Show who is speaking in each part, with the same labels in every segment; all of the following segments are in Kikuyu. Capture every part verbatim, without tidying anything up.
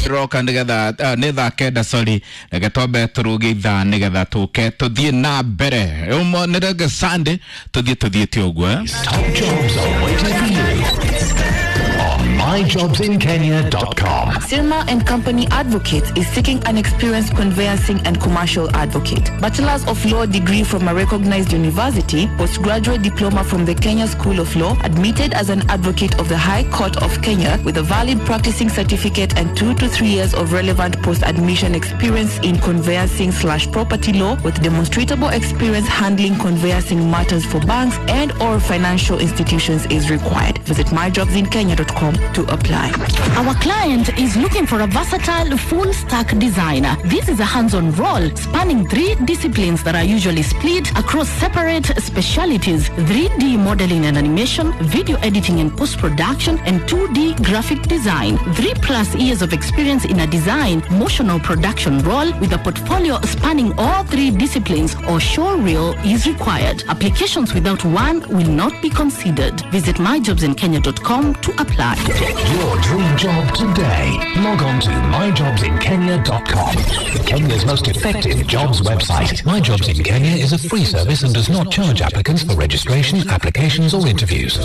Speaker 1: ndĩroka nĩgetha uh, nĩ thaa kenda, sorry, reke twambe tũrũge ithaa nĩgetha tũke tũthiĩ na mbere. Ũmwe nĩ Reggae Sunday, tũthiĩ tũthiĩte ũguo, eh?
Speaker 2: Top jobs are waiting for you on my jobs in kenya dot com.
Speaker 3: Sirma and Company Advocates is seeking an experienced conveyancing and commercial advocate. Bachelor's of Law degree from a recognized university, postgraduate diploma from the Kenya School of Law, admitted as an advocate of the High Court of Kenya with a valid practicing certificate and two to three years of relevant post-admission experience in conveyancing slash property law with demonstrable experience handling conveyancing matters for banks and or financial institutions is required. Visit my jobs in kenya dot com to apply.
Speaker 4: Our client is looking for a versatile full-stack designer. This is a hands-on role spanning three disciplines that are usually split across separate specialities: three D modeling and animation, video editing and post-production, and two D graphic design. Three plus years of experience in a design, motion or production role with a portfolio spanning all three disciplines or showreel is required. Applications without one will not be considered. Visit my jobs in kenya dot com to apply.
Speaker 2: Get your dream job today. Log on to my jobs in kenya dot com. Kenya's most effective jobs website. My Jobs in Kenya is a free service and does not charge applicants for registration, applications or interviews.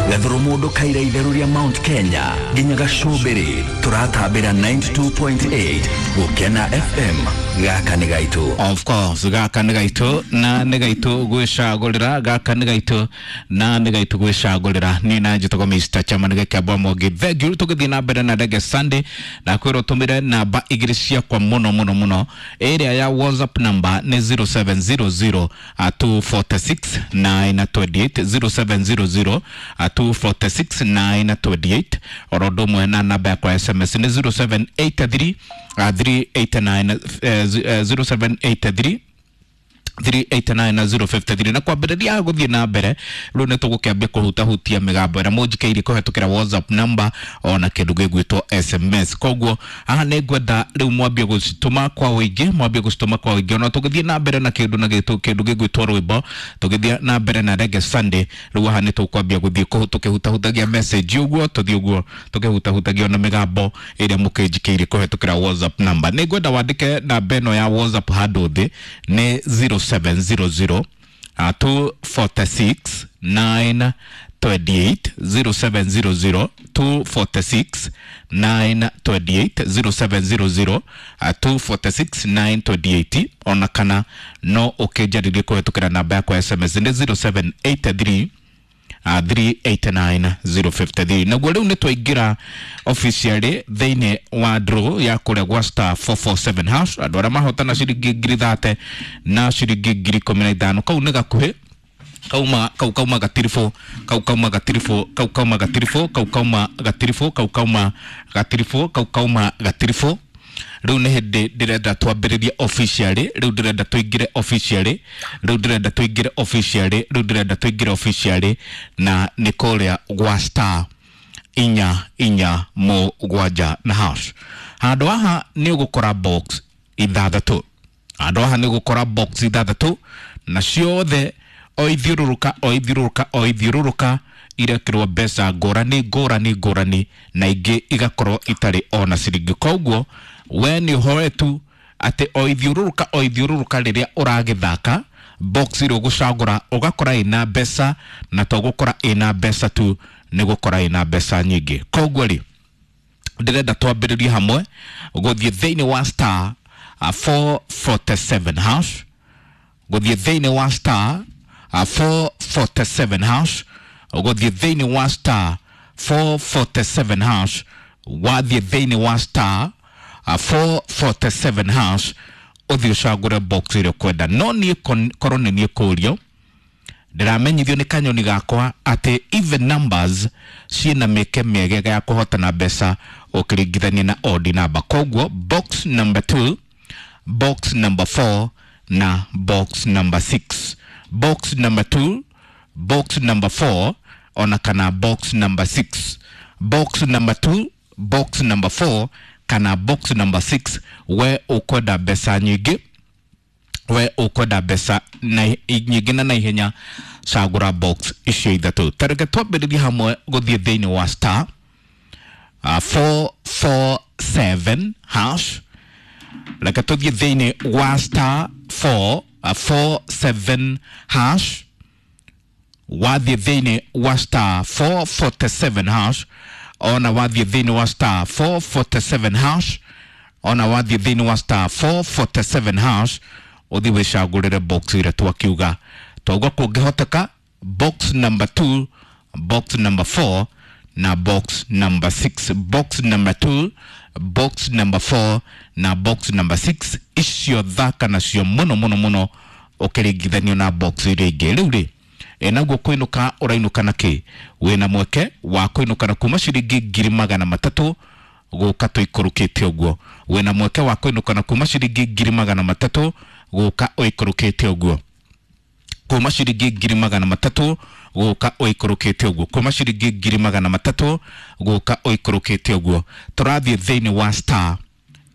Speaker 5: Gathuru mundu kaira itheru ria Mount Kenya nginya gacumbiri turatambira ninety-two point eight Gukena F M. Gaka ni gaitu.
Speaker 1: Of course, gaka ni gaitu na ni gaitu gwicagurira, gaka ni gaitu na ni gaitu gwicagurira. Ni na njitagwo Mister Chairman Gĩkĩambwa Mwangi. Thank you. Tũgĩthiĩ na mbere na Reggae Sunday na kwĩrwo tũmĩre namba igĩrĩ ciakwa mũno mũno mũno. Ĩrĩa ya WhatsApp number nĩ zero seven zero zero, uh, two four six nine two eight, zero seven zero zero, uh, two four six nine two eight. Oro ũndũ ũmwe na namba yakwa ya S M S nĩ zero seven eight three, uh, three eight nine, uh, zero seven eight three three eight nine zero five three. Na kwambĩrĩria gũthiĩ na mbere rĩu nĩ tũgũkĩambia kũhutahutia mĩgambo ĩrĩa mũnjikĩirie kũhetũkĩra WhatsApp number ona kĩndũ gĩgwĩtwo S M S. Koguo haha nĩ ngwenda rĩu mwambie gũcitũma kwa ũingĩ, mwambie gũcitũma kwa ũingĩ. Ona tũgĩthiĩ na mbere na kĩndũ na gĩtũ, kĩndũ gĩgwĩtwo rwĩmbo, tũgĩthiĩ na mbere na Reggae Sunday, rĩu haha nĩ tũkwambia gũthiĩ kũhu-, tũkĩhutahutagia message ũguo, tũthiĩ ũguo tũkĩhutahutagia ona mĩgambo ĩrĩa mũkĩnjikĩirie kũhetũkĩra WhatsApp number. Nĩ ngwenda wandĩke namba ĩno ya WhatsApp handũ thĩ nĩ zero seven zero zero, uh, two four six nine two eight, zero seven zero zero two four six nine two eight, zero seven zero zero, uh, two four six nine two eight. Ona kana no ũkĩnjarĩrie kũhetũkĩra namba yakwa ya S M S nĩ zero seven eight three, uh, three eight nine zero five three. Naguo rĩu nĩ twaingĩra officially thĩinĩ wa draw ya kũrĩa gwa star four four seven hash. Andũ arĩa mahotana ciringi ngiri thate na ciringi ngiri ikũmi na ithano, kau nĩ gakuhĩ, kauma, kau kauma gatiribũ, kau kauma gatiribũ, kau kauma gatiribũ, kau kauma gatiribũ, kau kauma gatiribũ, kau kauma gatiribũ. Rĩu nĩ hĩndĩ ndĩrenda twambĩrĩrie officially, rĩu ndĩrenda tũingĩre officially, rĩu ndĩrenda tũingĩre officially, rĩu ndĩrenda tũingĩre officially na nĩ kũrĩa gwa star inya inya mũgwanja na hash. Handũ haha nĩ ũgũkora box ithathatũ, handũ haha nĩ ũgũkora box ithathatũ na ciothe o ithiũrũrũka, o ithiũrũrũka, o ithiũrũrũka irekĩrwo mbeca ngũrani ngũrani ngũrani na ingĩ igakorwo itarĩ ona ciringi. Koguo we nĩ ũhoe tu atĩ o ithiũrũrũka, o ithiũrũrũka rĩrĩa ũragĩthaka box ĩrĩa ũgũcagũra ũgakora ĩna mbeca, na to gũkora ĩna mbeca tu, nĩ gũkora ĩna mbeca nyingĩ. Koguo rĩ, ndĩrenda twambĩrĩrie hamwe gũthiĩ thĩinĩ wa star, uh, four four seven hash, gũthiĩ thĩinĩ wa star, uh, four four seven hash, gũthiĩ thĩinĩ wa star four four seven hash, wathiĩ thĩinĩ wa star, uh, four four seven hash, ũthiĩ ũcagũre box ĩrĩa ũkwenda. No niĩ kon-, korwo nĩ niĩ kũũrio, ndĩramenyithio nĩ kanyoni gakwa atĩ even numbers ciĩna mĩeke mĩega ya kũhotana mbeca ũkĩringithania na odd number. Koguo box number two, box number four na box number six. Box number two, box number four ona kana box number six. Box number two, box number four kana box number six. We ukwenda mbeca nyingĩ, we ukwenda mbeca na nyingĩ na naihenya, cagũra box icio ithatũ. Ta reke twambĩrĩrie hamwe gũthiĩ thĩinĩ wa star, uh, four four seven hash. Reke tũthiĩ thĩinĩ wa star four four seven hash. Wathiĩ thĩinĩ wa star four forty-seven hash, ona wathiĩ thĩinĩ wa star four forty-seven hash, ona wathiĩ thĩinĩ wa star four forty-seven hash, ũthiĩ wĩcagũrĩre box ĩrĩa twakiuga. Twauga kũngĩhoteka box number two, box number four na box number six. Box number two, box number four na box number six, icio thaka nacio mũno mũno mũno ũkĩringithanio na box iria ingĩ. Rĩu rĩ, naguo kũinũka ũrainũka na kĩ? Wĩna mweke wa kũinũka na kuma ciringi ngiri magana matatũ gũka tũikũrũkĩte ũguo. Wĩna mweke wa kũinũka na kuma ciringi ngiri magana matatũ gũka ũikũrũkĩte ũguo. Kuma ciringi ngiri magana matatũ gũka ũikũrũkĩte ũguo. Kuma ciringi ngiri magana matatũ gũka ũikũrũkĩte ũguo. Tũrathiĩ thĩinĩ wa star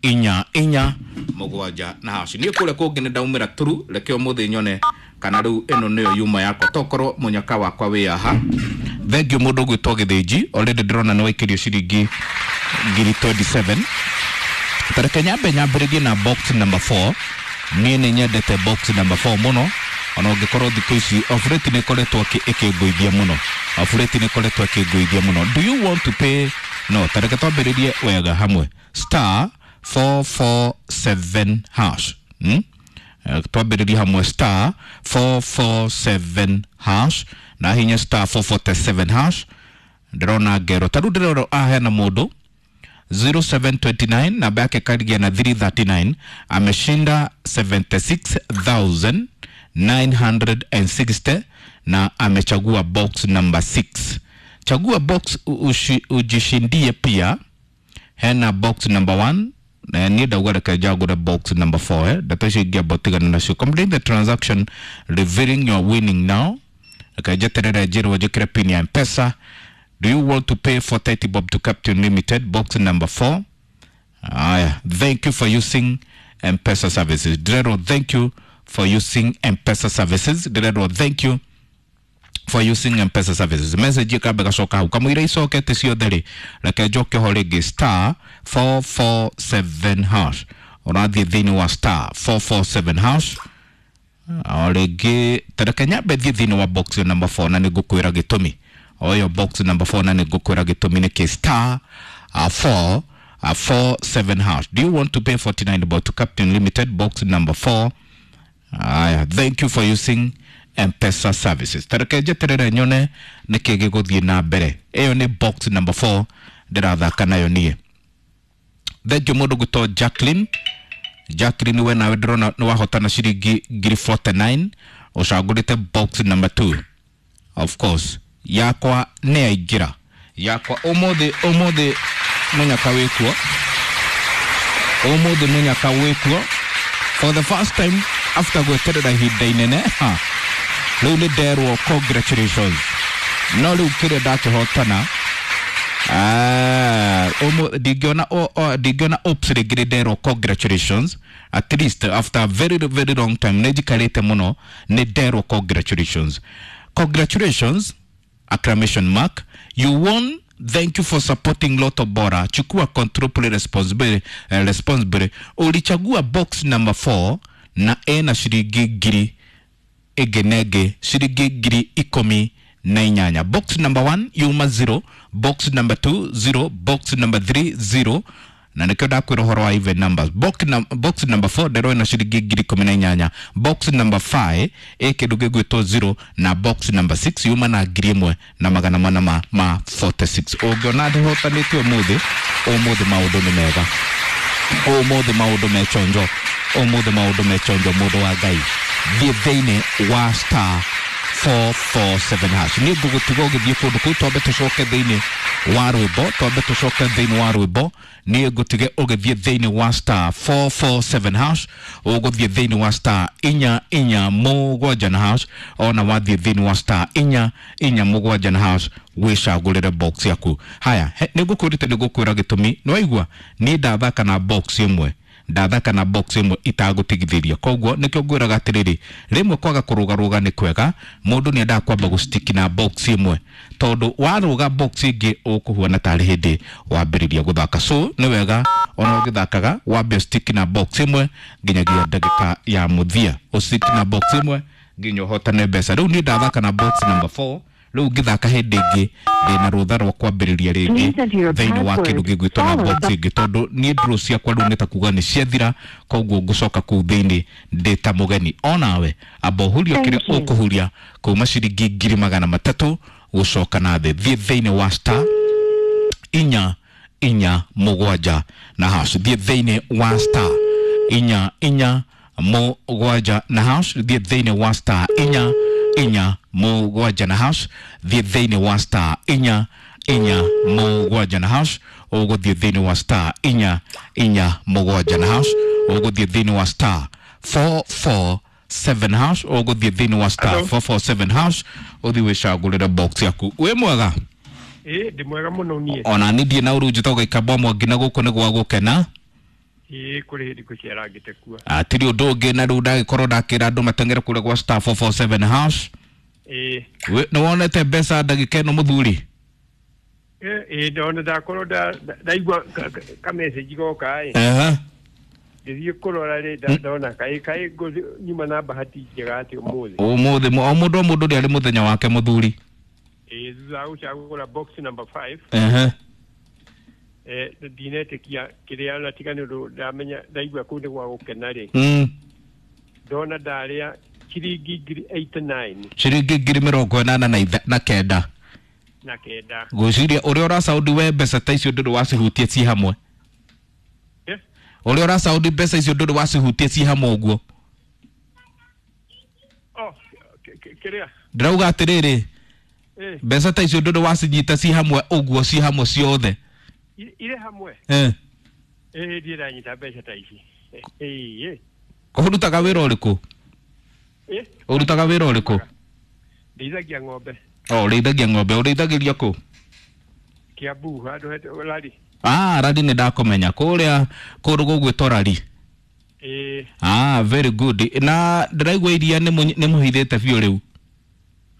Speaker 1: inya inya mũgwanja na hash. Niĩ kũrĩa kũngĩ nĩ ndaumĩra turu, reke ũmũthĩ nyone kana rĩu ĩno nĩyo yuma yakwa, tokorwo mũnyaka wakwa wĩ haha. Thengiũ mũndũ ũgwĩtwo Gĩthĩnji, already ndĩrona nĩ waikĩrio ciringi ngiri twenty-seven. Tareke nyambe nyambĩrĩrie na box number four. Niĩ nĩ nyendete box number four mũno, ona ũngĩkorwo thikũ ici of late nĩ ĩkoretwo ĩkĩngũithia mũno. Of late nĩ ĩkoretwo ĩkĩngũithia mũno. Do you want to pay? No, tareke twambĩrĩrie wega hamwe. Star four four seven hash. Hmm? Twambĩrĩrie hamwe star four four seven hash na hinya star four forty-seven hash. Ndĩrona ngero ta rĩu ndĩrona ahena mũndũ zero seven twenty-nine namba yake karigia na three thirty-nine, ameshinda seventy-six thousand nine hundred and sixty na amechagua box number six. Chagua box ushi, ujishindie pia. Hena box number one na ni ndauga reke njagũre box number four, eh ndeto icio ingĩamba ũtigane nacio. Complete the transaction revealing your winning now. Reke njeterere njĩrwo njĩkĩre pin ya M-Pesa. Do you want to pay for thirty bob to Captain Limited? Box number four. Aya, thank you for using M-Pesa services. Ndĩrerwo thank you for using M-Pesa services. Ndĩrerwo thank you for using M-Pesa services. Message ĩkambe gacoka hau kamũira icokete ciothe rĩ, reke njoke ho rĩngĩ star four four seven hash. Ũrathiĩ thĩinĩ wa star four four seven hash o rĩngĩ, tareke nyambe thiĩ thĩinĩ wa box number four na nĩngũkwĩra gĩtũmi. Oyo box number four na nĩngũkwĩra gĩtũmi nĩkĩ. Star uh, four uh, four seven hash. Do you want to pay forty-nine bob to Captain Limited? Box number four. Aya, thank you for using M-Pesa services. Tareke njeterere nyone nĩkĩ gĩgũthiĩ na mbere. Ĩyo nĩ box number four ndĩrathaka nayo niĩ. Thank you mũndũ gwĩtwo Jacqueline. Jacqueline we nawe ndĩrona nĩ wahotana ciringi ngiri forty-nine, ũcagũrĩte box number two. Of course yakwa nĩ yaingĩra. Yakwa ũmũthĩ, ũmũthĩ mũnyaka wĩkuo. Ũmũthĩ mũnyaka wĩkuo for the first time after gweterera ihinda inene. Ha, rĩu nĩ nderwo congratulations. No rĩu kĩrĩa ndakĩhotana, ah, ndingĩona ndingĩona oops rĩngĩ nĩ nderwo congratulations. At least after a very very long time nĩ njikarĩte mũno, nĩ nderwo congratulations. Congratulations exclamation mark. You won. Thank you for supporting Lotto Bora. Chukua control, play responsibly, uh, responsibly. Ulichagua box number four na ena ciringi ngiri ĩngĩ na ĩngĩ ciringi ngiri ikũmi na inyanya. Box number one yuma zero, box number two zero, box number three zero, na nĩkĩo ndakwĩra ũhoro wa even numbers. Box, num box number four ndĩrona ciringi ngiri ikũmi na inyanya. Box number five ĩ kĩndũ gĩgwĩtwo zero, na box number six yuma na ngiri ĩmwe na magana mana ma, ma forty-six. Ũngĩona ndĩhotanĩte ũmũthĩ, ũmũthĩ maũndũ nĩ mega, ũmũthĩ maũndũ me chonjo, ũmũthĩ maũndũ me chonjo. Mũndũ wa Ngai, thiĩ thĩinĩ wa star four four seven hash. Niĩ ngũgũtiga ũgĩthiĩ kũndũ kũu, twambe tũcoke thĩinĩ wa rwĩmbo, twambe tũcoke thĩinĩ wa rwĩmbo. Niĩ ngũtige ũgĩthiĩ thĩinĩ wa star four four seven hash, ũgũthiĩ thĩinĩ wa star inya inya mũgwanja na hash, ona wathiĩ thĩinĩ wa star inya inya mũgwanja na hash wĩcagũrĩre box yaku. Haya, nĩ ngũkwĩrĩte nĩ ngũkwĩra gĩtũmi. Nĩ waigua niĩ ndathaka na box ĩmwe Ndathaka na box ĩmwe itagũtigithĩria. Koguo nĩkĩo ngwĩraga atĩrĩrĩ, rĩmwe kwaga kũrũgarũga nĩ kwega. Mũndũ nĩ endaga kwamba gũstiki na box ĩmwe, tondũ warũga box ĩngĩ ũkũhuana tarĩ hĩndĩ wambĩrĩria gũthaka. So nĩ wega ona ũgĩthakaga wambe stick na box ĩmwe nginyagia ndagĩka ya mũthia, ũstick na box ĩmwe nginya ũhotane mbeca. Rĩu niĩ ndathaka na box number four, rĩu ngĩthaka hĩndĩ ĩngĩ ndĩna rũtha rwa kwambĩrĩria rĩngĩ thĩinĩ wa kĩndũ gĩgwĩtwo na box ĩngĩ, tondũ niĩ draw ciakwa rĩu nĩ ta kuga nĩ ciathira, koguo ngũcoka kũu thĩinĩ ndĩ ta mũgeni. Onawe amba ũhurie kĩrĩa ũkũhuria kuma ciringi ngiri magana matatũ gũcoka na thĩ. Thiĩ thĩinĩ wa star inya inya mũgwanja na hash, thiĩ thĩinĩ wa star inya inya mũgwanja na hash, thiĩ thĩinĩ wa star inya inya mũgwanja na hash, thiĩ thĩinĩ wa star inya inya mũgwanja na hash, ũgũthiĩ thĩinĩ wa star inya inya mũgwanja na hash, ũgũthiĩ thĩinĩ wa star four four seven hash, ũgũthiĩ thĩinĩ wa star four four seven hash, ũthiĩ wĩcagũrĩre box yaku. Wĩ mwega?
Speaker 6: Ĩ, ndĩ mwega mũno niĩ.
Speaker 1: Ona niĩ ndirĩ na ũru, njĩtagwo Gĩkamba Mwangi na gũkũ nĩ gwa gũkena.
Speaker 6: Ĩ, kũrĩ hĩndĩ ngũcerangĩte kuo.
Speaker 1: Hatirĩ ũndũ ũngĩ, na rĩu ndagĩkorwo ndakĩra andũ mateng'ere kũrĩa gwa star four four seven hash.
Speaker 6: Ĩ.
Speaker 1: Nĩ wonete mbeca ndagĩka ĩno mũthuri?
Speaker 6: Ĩ, ndona ndakorwo ndaigua ka message goka ĩ.
Speaker 1: Ehe.
Speaker 6: Ngĩthiĩ kũrora rĩ, ndona kaĩ kaĩ nyuma na bahati njega atĩ ũmũthĩ.
Speaker 1: Ũmũthĩ o mũndũ o mũndũ nĩ arĩ mũthenya wake mũthuri.
Speaker 6: Ĩ, thutha wa gũcagũra box number five.
Speaker 1: Ehe.
Speaker 6: Eh, ndinetĩkia kĩrĩa na tiga nĩ ũndũ ndamenya ndaigua kũu nĩ gwa gũkena rĩ.
Speaker 1: Mm.
Speaker 6: Ndona ndarĩa ciringi ngiri eighty nine.
Speaker 1: Ciringi ngiri mĩrongo ĩnana na itha, na kenda.
Speaker 6: Na kenda.
Speaker 1: Ngwĩciria ũrĩa ũracaũndi we mbeca ta icio ndũrĩ wacihutia ci hamwe.
Speaker 6: Eh?
Speaker 1: Ũrĩa ũracaũndi mbeca icio ndũrĩ wacihutia ci hamwe ũguo.
Speaker 6: Oh, kĩrĩa?
Speaker 1: Ndĩrauga atĩrĩrĩ,
Speaker 6: Eh.
Speaker 1: mbeca ta icio ndũrĩ wacinyita ci hamwe ũguo, ci hamwe ciothe.
Speaker 6: Irĩ hamwe?
Speaker 1: Eh.
Speaker 6: Eh, ndirĩ ndanyita mbeca ta ici. Eh, eh.
Speaker 1: Ũrutaga wĩra ũrĩkũ?
Speaker 6: Eh?
Speaker 1: Ũrutaga wĩra ũrĩkũ?
Speaker 6: Ndĩithagia ng'ombe.
Speaker 1: Oh, ũrĩithagia ng'ombe. Ũrĩithagĩria kũ?
Speaker 6: Kiambu, handũ hetagwo Rari.
Speaker 1: Ah, Rari nĩ ndakũmenya. Kũrĩa kũndũ gũgwĩtwo Rari.
Speaker 6: Eh.
Speaker 1: Ah, very good. Na ndĩraigua iria nĩ mũhithĩte biũ rĩu.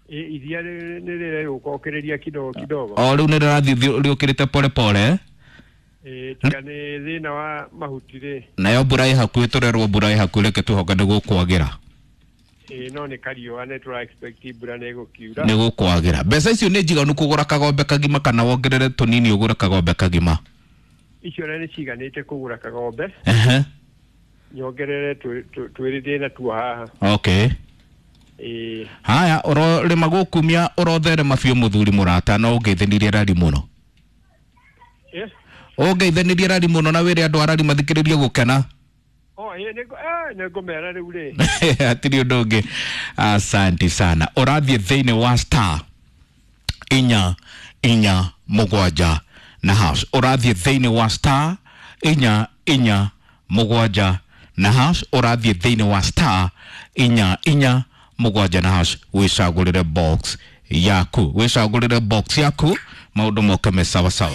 Speaker 6: Eh, iria nĩ rĩrũka kidogo kidogo.
Speaker 1: O rĩu nĩ rĩrathiĩ rĩũkĩrĩte pole pole.
Speaker 6: Eh, tiga nĩ thĩna wa mahuti rĩ.
Speaker 1: Nayo mbura ĩ hakuhĩ, tũrerwo mbura ĩ hakuhĩ, reke twĩhoke nĩ gũkwagĩra.
Speaker 6: Ĩ, no nĩ kariũa nĩ tũra expect mbura nĩ ĩgũkiura.
Speaker 1: Nĩ gũkwagĩra. Mbeca icio nĩ njiganu kũgũra kagombe kagima kana wongerere tũnini ũgũre kagombe kagima?
Speaker 6: Icio nĩ ciganĩte kũgũra kagombe.
Speaker 1: Ehe.
Speaker 6: Nyongerere twĩrĩ ndĩ natuo haha.
Speaker 1: Okay.
Speaker 6: Ĩ.
Speaker 1: Haya, ũrorĩma gũkumia ũrotherema biũ mũthuri mũrata, no ũngeithĩnirie Rari mũno.
Speaker 6: Eh?
Speaker 1: Ũngeithĩnirie Rari mũno na wĩre andũ a Rari mathikĩrĩrie gũkena.
Speaker 6: Oh, ĩ, nĩ eh, nĩ ngũmera rĩu rĩ.
Speaker 1: Hatirĩ ũndũ ũngĩ. Asante sana. Ũrathiĩ thĩinĩ wa star inya inya mũgwanja na hash. Ũrathiĩ thĩinĩ wa star inya inya mũgwanja na hash. Ũrathiĩ thĩinĩ wa star inya inya mũgwanja na hash, wĩcagũrĩre box yaku, wĩcagũrĩre box yaku, maũndũ moke me sawa sawa.